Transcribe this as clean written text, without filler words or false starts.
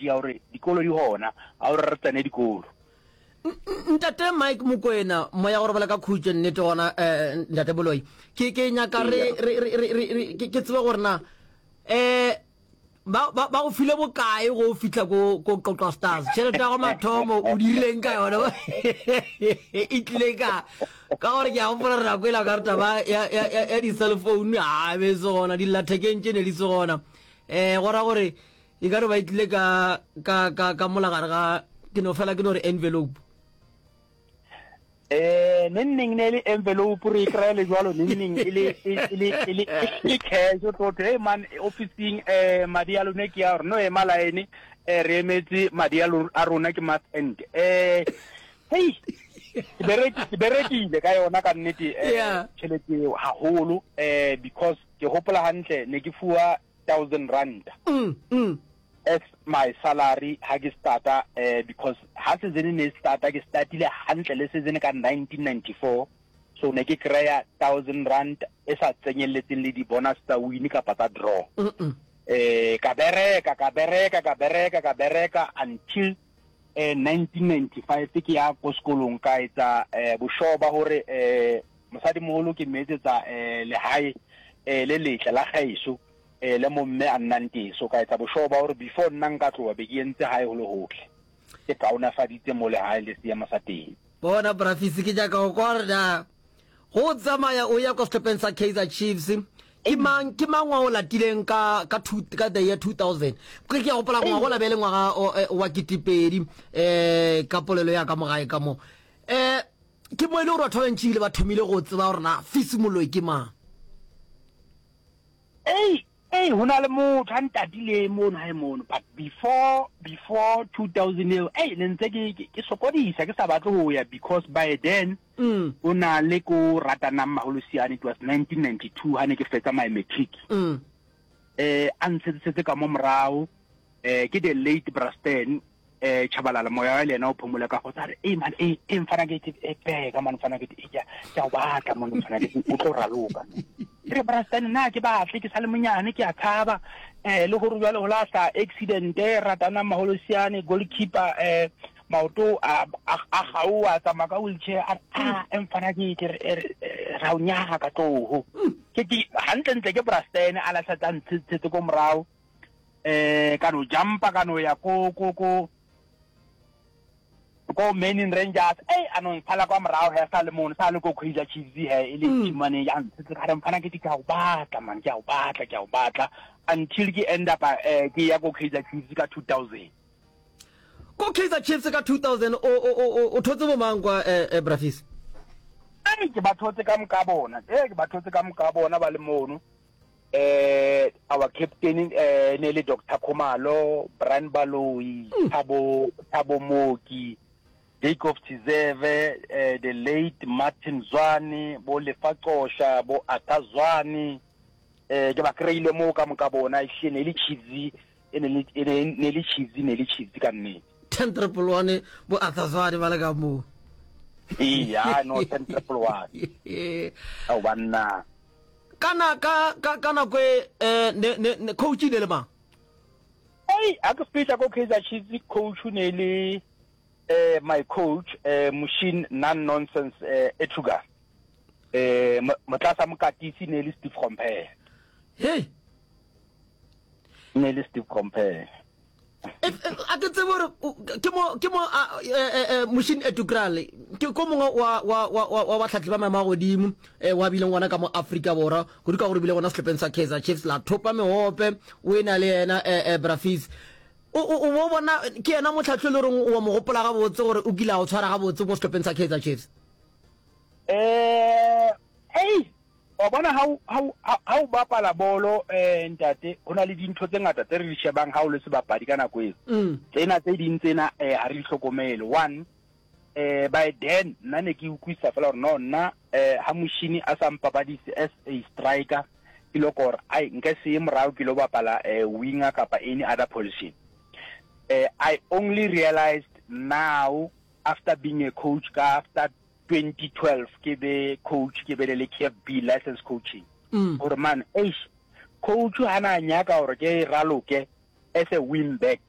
message ya gore dikolo di gona, a gore re tsene dikolo. Ntate Mike Mokoena, moya go robala ka khutšo nnete gona eh, ntate Boloi. Ke ke nyaka re re re re ke tsebe gore na eh ba ba ba go file bokae go fihla ko ko Qoqwa Stars? Tšhelete ya go mathomo o dirileng ka yona? E tlile ka ka gore ke a gopola re nako ela ka re taba ya ya ya di cell phone a be se gona dillathekeng tše ne di se gona. Eh go ra gore E ka no ba e tlile ka, ka, ka, ka mola gare ga, ke no fela ke no re envelope. Eh, neng neng ne e le envelope re e kry-a le jwalo neng neng e le e le e le e le cash o tlo hey man officing eh madi a lone ke a gore no ema line eh re emetse madi a a rona ke month end eh hey ke bereki ke berekile ka yona ka nnete eh tšhelete eo haholo eh because ke hopola hantle ne ke fuwa R1000 as my salary ha ke starta eh, because ha season ne starta ke startile hantle le season ka 1994 so ne ke kry-a R1000 e sa tsenyeletseng le di-bonus tsa win kapa tsa draw. Eh ka bereka ka bereka ka bereka ka bereka until eh 1995 ke ya ko sekolong ka etsa eh boshoba hore eh Mosadimoholo ke mo etsetsa lehae le letle la gaeso le mo mme a nnang teng. So ka etsa bošoo ba gore before nna nka tloga be ke entse gae go le gotle. Ke kaonafaditse mo lehae le seemo sa teng. Bona Bra Fisi ke nyaka go kwa gore na go tsamaya o ya kwa sehlopheng sa Kaizer Chiefs ke mang ke mang wa o latileng ka ka two, ka the year 2000 ke ke a gopola ngwaga o la be le ngwaga wa ketepedi eh ka polelo ya ka mogae ka mo eh Ke mo e le gore batho ba bantši ebile ba thomile go tseba gore na Fisi Moloi ke mang. Ei, ei, ho na le motho a ntatile mono hae mono, but before, before 2000 eo, ei, ne ntse ke, ke, ke sokodisa, ke sa batle ho ya because by then, mm. o na le ko ratanang Maholosiane, it was 1992 ha ne ke fetsa my matric. Mm. Eh, a ntshetsetse ka mo morao, eh, ke the late Brasten, eh Chabalala moya wa le yena o phomole ka go tsare e man e e mfana ke e peka man mfana ke e ke ke o batla mo mfana ke o tlo raloka re brastan nna ke batle ke sa le monyane ke a tshaba eh le gore jwale go lahla accident e ratana maholosiane goalkeeper eh maoto a a gaoa tsamaya ka wheelchair a a e mfana ke ke ra o nyaga ka tlogo ke ke hantle ntle ke brastan a lahla tsa ntshetse ko morao eh ka no jumpa ka no ya ko ko ko ko Manning Rangers ei a no ntshala kwa morago he sa le mono sa le ko Kaizer Chiefs he e le mm. team ya ntshetse ka re mfana ke ke a go batla man ke a go batla ke a go batla until ke end up eh, ke ya ko Kaizer Chiefs ka 2000 ko Kaizer Chiefs ka 2000 o o o o thotse bo mang kwa eh, eh Brafis Ei ke ba thotse ka moka bona eh ke ba thotse ka moka bona ba le mono eh our captain eh ne le Dr Khumalo Brian Baloyi mm. Thabo Thabo Mooki Jacob Tshizeve eh, the late Martin Zwane bo Lefa Qosha bo Arthur Zwane eh ke ba kreile mo ka moka bona e ne le Chiefs e ne le ne le Chiefs ne le Chiefs ka nnete 10 triple 1 bo Arthur Zwane ba le ka mo iya no 10 triple 1 au banna Ka na, ka, ka, ka nako e, eh, ne, ne, ne, coach e ne le mang? Ei, ha ke fihla ko Kaizer Chiefs, coach ne le eh, my coach eh, Mushin non nonsense eh, Etuga. Eh, motlasa mokatisi ne le Steve Compare. Hey. Ne le Steve Compare. A ke tsebe gore ke mo ke mo Mushin Ertugral ke ko mongwe wa wa wa wa batlhatli ba maemo a godimo wa bileng gona ka mo Afrika Borwa kudu ka gore bile gona sehlopheng sa Kaizer Chiefs la thopa mehope o e na le yena Brafis o o bo bona ke yena motlhatli le goreng o mo gopola gabotse gore o kile a o tshwara gabotse ko sehlopheng sa Kaizer Chiefs. Eh, ei Wa bona ha o, ha o, ha o bapala bolo, eh, ntate, ho na le dintho tse ngata tse re di shebang ha o le sebapadi ka nako eo. Mm. Tsena tse ding tsena, eh, ha re di hlokomele. One, eh, by then, nna ne ke utlwisisa fela hore no, nna, eh, ha moshini a sa mpapadise as a striker, ke lo kora, ai, nka se ye morao ke lo bapala, eh, winger kapa any other position. Eh, I only realized now, after being a coach, ka after 2012 ke be coach ke bele le KFB license coaching mm. gore man eish coach ha na nyaka gore ke raloke as a wing back.